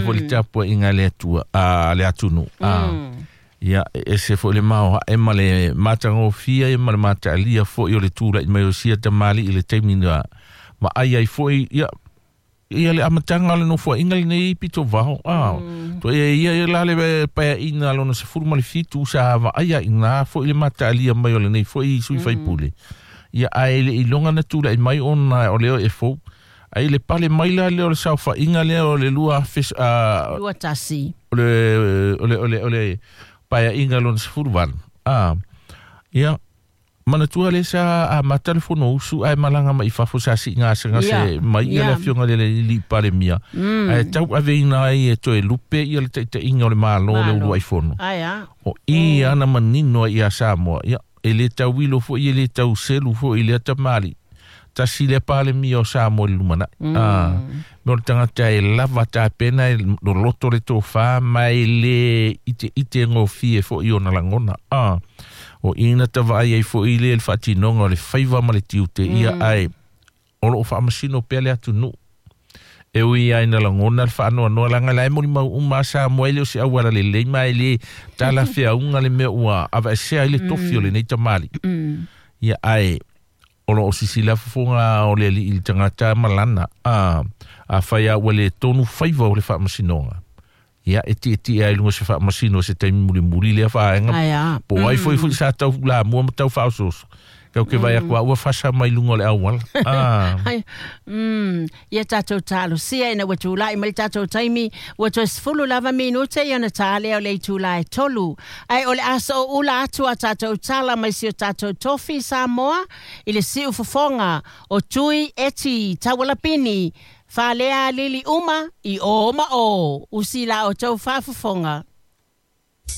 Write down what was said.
Foi le tapuaiga a le Atua, a le atunuu. Ia, e ese foi le maoae ma le matagofie ma le mataalia foi o le tulai mai o sia tamalii i le taimi na vaai ai foi, ia, ia le amataga o le nofoaiga lenei pito vao. To ia ia ia la le paeaiga lona 17 sa vaaia iina foi le mataalia mai o lenei foi sui faipule. Ia, ae le iloga na tulai mai ona o lea e fou. Ai le pale mai la lea o le saofaiga lea o le 2000, 21. O le paeaiga lona 18. Ia, manatua le sa amata le fono usu ae malaga mai i fafo sa sii gasegase mai ia le afioga le alii Palemia. Ae tau aveina ai e toe lupe ia le taitaiga o le Malo le uluai fono. Ai a. O i ana manino ai ia Samoa. Ia, e le tauilo foi, e le tau selu foi i lea tamalii. Tasi lea Palemia o Samoa i le lumanai. Me o le tagata e lava tapena e loloto le tofa ma e le ite ite gofie foi ona lagona. O ina tavaai ai foi le le faatinoga o le faiva ma le tiute ia ae o loo faamasino pea le atunuu. E ui ai na lagona le faanoanoa laga la e molimau uma a Samoa e le o se auala lelei ma e le talafeauga le mea ua avaesea ai le tofi o lenei tamalii. Ia ae o loo sisila fofoga o le alii i le tagata malana. Afai a ua le tonu faiva o le faamasinoga. Ia e tietie ai luga se faamasino se taimi mulimuli lea vaega. Ai a. Po ai foi foi sa tau lamua ma tau faaosooso. Kau ke vai aku ua fasa mai luga o le auala. Ai, ia tatou talosia ina ua tulai mai le tatou taimi, ua toe 10 lava minute ia ona ta lea o le itula e 3. Ae o le aso o ula atu a tatou tala mai si o tatou tofi Samoa i le siu fofoga o Tui Eti Taualapini, faalea lili uma i o ma o, usi la o tau faafofoga.